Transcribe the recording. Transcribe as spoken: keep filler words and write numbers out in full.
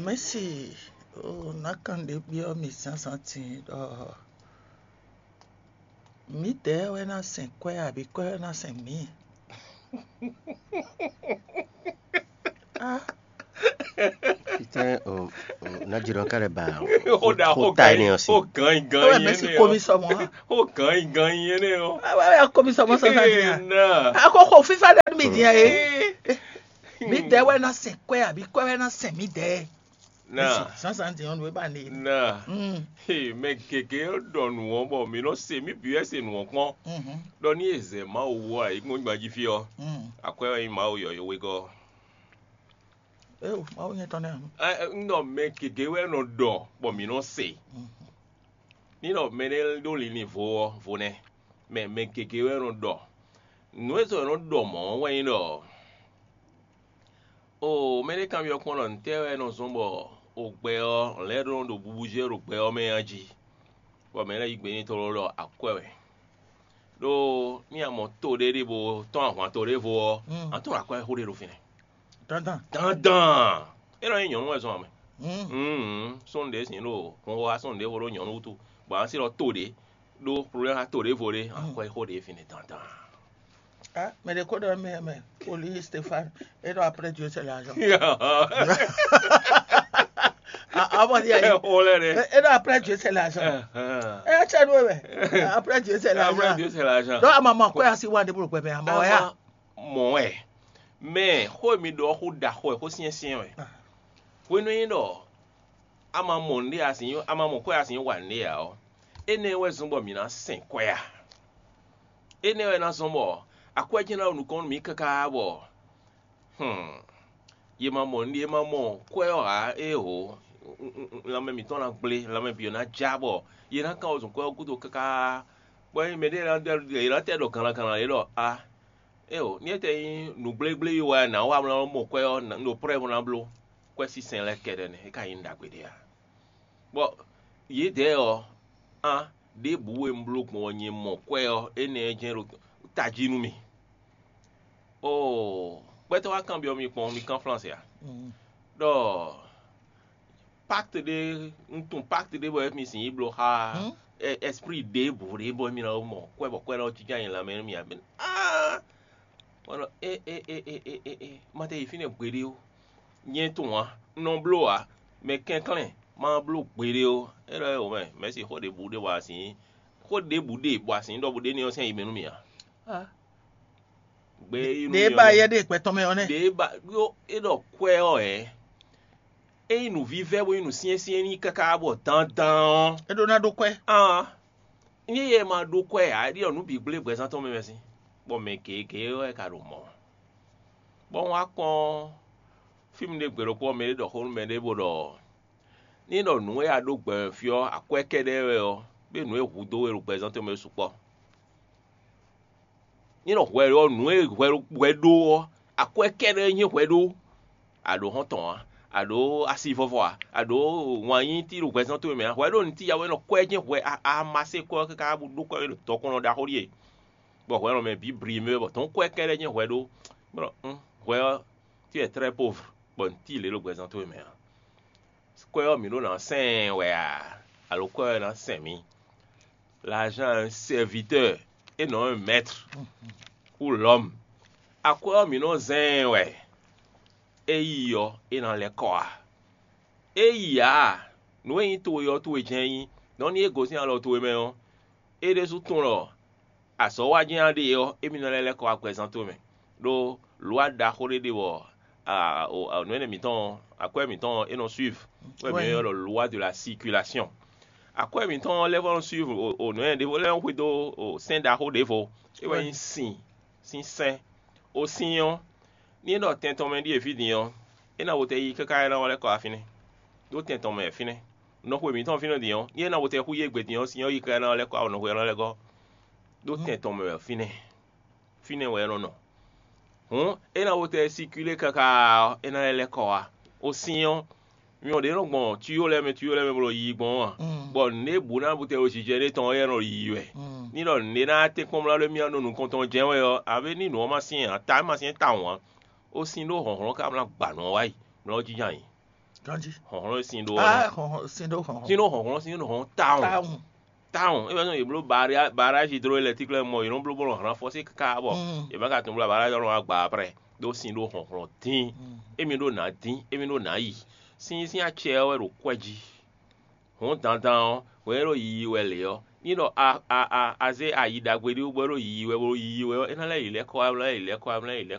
Mɛ̌si, oo, nǎ kan ɖě byɔ́ mì zǎnzǎn din ɖɔ mǐdɛɛ wɛ ná sɛn kwɛ́ abǐ kwɛ́ wɛ ná sɛn mǐ? Ah, Putain, oh, oh, Nadjiro ka lɛ ba Xó ɖa xó xó ta gan énɛ́ yín ɔ́ sí. xó gan yín gan ewɛ yín mɛ̌si énɛ́ komi ɔ́. sɔmɔ hã. Xó gan yín gan yín énɛ́ ɔ́. Ewɛ ya komi sɔmɔ zǎnzǎn din hã. Ee, na. Akɔxɔ fífá ɖe nú mì din hã é. Mǐdɛɛ wɛ ná sɛn kwɛ́ abǐ kwɛ́ wɛ ná sɛn mǐdɛɛ? Na. Zǎnzǎn din ɔ́ nǔ e ba ne. Na. Mm, Hey, mɛ gěgé ɖɔ nǔ ɔ́ bɔ mǐ nɔ se mǐ bǐ wɛ se nǔ ɔ́ kpɔ́n. mhm, Ɖɔ ní e zɛ Mawu wú ɔ ayǐkúngban jí fí ɔ́, mm. akwɛ́ wɛ nyí Mawu yɔ̌yɔ́ wegɔ́. Eo, Mawu nyɛ tɔn nɛ. Ɛ, ɛ, Un ɖɔ mɛ gěgé wɛ nɔ ɖɔ bɔ mǐ nɔ se. Ní ɖɔ mɛ ɖé ɖó linlin vo ɔ́, vo nɛ́. Mɛ mɛ gěgé wɛ nɔ ɖɔ. Nǔ e sɔ́ nɔ ɖɔ mɔ̌ ɔ́ wɛ nyí ɖɔ, o mɛ ɖé kanbyɔ́ kpɔ́n ɖɔ ntɛ́ wɛ nɔ zɔ́n bɔ o gbɛ ɔ́ lɛ́ ɖó nɔ ɖo bubu jɛ ɖo gbɛ ɔ́ mɛ a jí, bɔ mɛ lɛ́ yí gbe n'i tlóló ɖɔ akwɛ́ wɛ. Ɖó ní a mɔ to ɖé ɖíbo tɔ́n ahwan to ɖěvo ɔ́, Mm. a tunwun akwɛ́ xó ɖé ɖo fínɛ́. Dandan. Dandan. É nɔ nyí nyɔ̌nu wɛ zɔn ame. Mm. Mm, sɔ́n ɖě sin ɖo hun wá sɔ́n ɖěvo ɖó nyɔ̌nu wútu, bɔ a si ɖɔ to ɖě ɖó problème a to ɖěvo ɖé, akwɛ́ xó ɖě fínɛ́ dandan. Ah, mais les codes de mɛ, mais, Oli Stéphane, et donc après Dieu c'est l'argent. Ah, ah, bon, il y a- Ɛ xó lɛ ɖe. Et donc après Dieu c'est l'argent. Ɛhɛn. Eh, c'est nous, mais après Dieu c'est Après l'argent. Dieu c'est l'argent. Donc, à maman, quoi, si on a des problèmes, à maman, ya. Mɔ wɛ. Mɛ xó mi ɖɔ xó ɖaxó wɛ, xó syɛ́nsyɛ́n wɛ. Ah. Hwenu e nyí ɖɔ a ma mɔ nǔɖé a sǐ a ma mɔ kwɛ́ a sǐ wa nǔɖé ǎ ɔ́, énɛ́ wɛ zɔ́n bɔ mǐ ná sɛn kwɛ́ a? Énɛ́ wɛ ná zɔ́n bɔ akwɛ́ jɛ́n ná ɖo nukɔn nú mǐ káká bɔ, hmm, yě ma mɔ nǔɖé, yě ma mɔ kwɛ́ ɔ́ ǎ, éeǒ, lanmɛ mǐtɔn ná gblé, lanmɛ bǐ ɔ́ ná já bɔ yě ná kan wezun kwɛ́ ɔ́ gúdo káká. Bɔ ényí mɛɖé lɛ́ɛ ná ɖɔ yě ná tɛ ɖɔ gannagannla yě ɖɔ a, éeǒ, ní é tɛ nyí nǔgblégbléyi wɛ nǎ wa mlá mɔ kwɛ́ ɔ́, un ɖo prɛ́ bó ná bló. Kwɛ́ sísɛn lɛ́ɛ kɛ́ɖɛ́ nɛ́, é ka nyí nǔ ɖagbe ɖé ǎ. Bɔ yědɛɛ ɔ́, án ɖěbǔ e un bló gbɔn ɔ́ nyɛ mɔ kwɛ́ ɔ́, énɛ́ ɔ́ jɛ́n ɖo tají nú mì. Oo, gbɛtɔ́ wá kanbyɔ́ mi kpɔ́n, mi kán Flánse a? Mm. Ɖɔ pacte ɖé, un tunwun pacte ɖé bɔ mi sǐ yi bló xá Hmm? ɛ- esprit ɖěbǔ ɖé bɔ mi ná mɔ kwɛ́ bɔ kwɛ́ lɔ jínjɔ́n anyi lanmɛ nú mi ǎ. Mɛ ah, wọ́n ɖɔ e e e e e e e ma tɛ yi fínɛ́ gbeɖé ó. Nyɛ tunwun ǎ, un nɔ bló ǎ, mɛ kɛnklɛ́n ma bló gbeɖé ó. É ɖɔ é wǒ mɛ, mɛ̌si xó ɖěbǔ ɖé wa sin, xó ɖěbǔ ɖe bɔ asin ɖɔ bǔ ɖé ní ɔ́ sɛn yi mɛ nú mì ǎ. Ah. Gbé yi nú Ɖe mi ba ɔ́, yɛ ɖe gbɛtɔ́ mɛ ɔ́ nɛ. ɖě ba ɖó é ɖɔ kwɛ́ ɔ́ hɛ̌? É nyí nǔvívɛ́ bó nyí nǔsyɛ́nsyɛ́n n'i káká bɔ dandan ɔ́. É ɖó ná ɖó kwɛ́. Án, nyí yɛ ma ɖó kwɛ́ ǎ, é ɖiɔ nǔ bǐ gblé gbɛzán tɔn mɛ mɛ sín, bɔ mɛ gěgé wɛ ka ɖo mɔ̌. Bɔ un wá kpɔ́n fí mi ɖé gbe ɖokpó ɔ́, mɛ ɖé ɖɔ xó nú mɛ ɖé bó ɖɔ ní ɖɔ nǔ e a ɖó gbɛ fí ɔ́, akwɛ́ kɛ́ɖɛ́ wɛ ɔ́, bó nǔ e hudó we ɖo gbɛzán tɔn mɛ sukpɔ́. Ní ɖɔ hwɛ ɔ́, nǔ e hwɛ hwɛ ɖó ɔ́, akwɛ́ kɛ́ɖɛ́ nyí hwɛ ɖó. A ɖǒ xɔ́ntɔn ǎ, a ɖǒ asivɔ́vɔ́ ǎ, a ɖǒ wǎn nyí tí ɖo hwɛzán towe mɛ ǎ. Hwɛ ɖó nǔtí ya wɛ nɔ kwɛ́ jɛ́n hwɛ a a ma se kwɛ́ ɔ́ káká bó ɖó kwɛ́ ɖo tɔkɔn ɖaxó ɖíe, bɔ hwɛ nɔ mɛ bǐ bli mɛ bɔ tɔn kwɛ́ kɛ́ɖɛ́ jɛ́n hwɛ ɖó. Bɔ un hwɛ ɔ́, tí wɛ très pauvre, bɔ nǔtí lě ɖo hwɛzán towe mɛ ǎ. Kwɛ́ ɔ́ mǐ ɖó ná sɛn wɛ a, alo kwɛ́ ɔ́ ná sɛn mǐ? L'argent est un serviteur et non un maître ou l'homme. Akwɛ́ ɔ́ mǐ nɔ zɛ́n ɛ wɛ, é yi ɔ́ é ná lɛ́ kɔ a? É yi ǎ, nǔ e nyí towe ɔ́ towe jɛ́n é nyí. Nɔ ní é gosín alɔ towe mɛ ɔ́, é ɖésú tunwun ɖɔ azɔ̌ wa jɛ́n a ɖe ɔ́, émí nɔ lɛ́ lɛ́ kɔ agbɛzán towe mɛ. Ɖó lǒ wa ɖaxó ɖé ɖe bɔ nǔ énɛ́ mǐtɔn akwɛ́ mǐtɔn é nɔ suivre, wɛ mǐ ylɔ́ ɖɔ loi de la circulation. Akwɛ́ mǐtɔn lɛ́ vɔ́ nɔ suivre nǔ énɛ́ ɖěvo lɛ́ɛ xwedó sɛ́n ɖaxó ɖěvo, é wɛ nyí sin sín sɛ́n. Ó sin ɔ́, ní é ɖɔ tɛn tɔn mɛ ɖíe fí din ɔ́, é ná wo tɛ yi káká é ná wá lɛ́ kɔ wá fínɛ́. Ɖó tɛn tɔn mɛ wɛ fínɛ́. Nɔxwe mǐtɔn fínɛ́ din ɔ́, ní é ná wo tɛ xú yé gbe din ɔ́, sin ɔ́ yi káká é ná wá lɛ́ kɔ wá nɔxwe ɔ́ ná lɛ́ gɔ́. Ɖó tɛn tɔn mɛ wɛ fínɛ́. Fínɛ́ wɛ é nɔ nɔ. Hǔn é ná wo tɛ sikilé káká ɔ́, é ná lɛ́ lɛ́ kɔ wá. Ó sin ɔ́, mi ɔ́ ɖě nɔ gbɔn tuyó lɛ́ɛ mɛ tuyó lɛ́ɛ mɛ bó nɔ yiyi gbɔn ɔ́ a? Bɔ nǔɖé bǔ ná bú tɛ ɖo jijɛ ɖé tɔn ɔ́, é nɔ yiyi wɛ. Ní ɖɔ nǔɖé ná tɛ́nkpɔ́n mlá ɖó émí ɔ́ nɔ nukɔn tɔn jɛ́n wɛ ɔ́, abě ní nǔ ɔ́ ma syɛ́n ǎ, ta é ma syɛ́n tawun ǎ, ó sin ɖó hlɔ̌nhlɔ́n ka mlá gba nǔ ɔ́ wá yi, mlá ɔ́ jínjɔ́n ayǐ. Ganji. Hɔnhlɔn e sin ɖó Ah, ɔ́ hɔn hɔn sin ɖo hɔn. sin ɖó hɔnhlɔn sin ɖó hɔn tawun Tawun. Tawun e bɛ nɔ yeblo barrage hydroélectrique lɛ mɔ yelɔn blo bolo hran fɔsi kaka bɔ Mm. yɛ bɛ ka tun blo barrage lɔ agba après ɖó sin ɖó hɔnhlɔn dín emi ɖó nǎ dín emi ɖó nǎ yi sin sin acɛ wɛ ɖo kwɛ jí hɔn dandan ɔ wɛ ɖo yiyi wɛ lě ɔ ní ɖɔ a a a azé ayi ɖagbe ɖé bɔ ɖo yiyi wɛ bɔ yiyi wɛ ɔ é ná lɛ yi lɛ́ kɔ wá lɛ yi lɛ́ kɔ wá lɛ yi lɛ́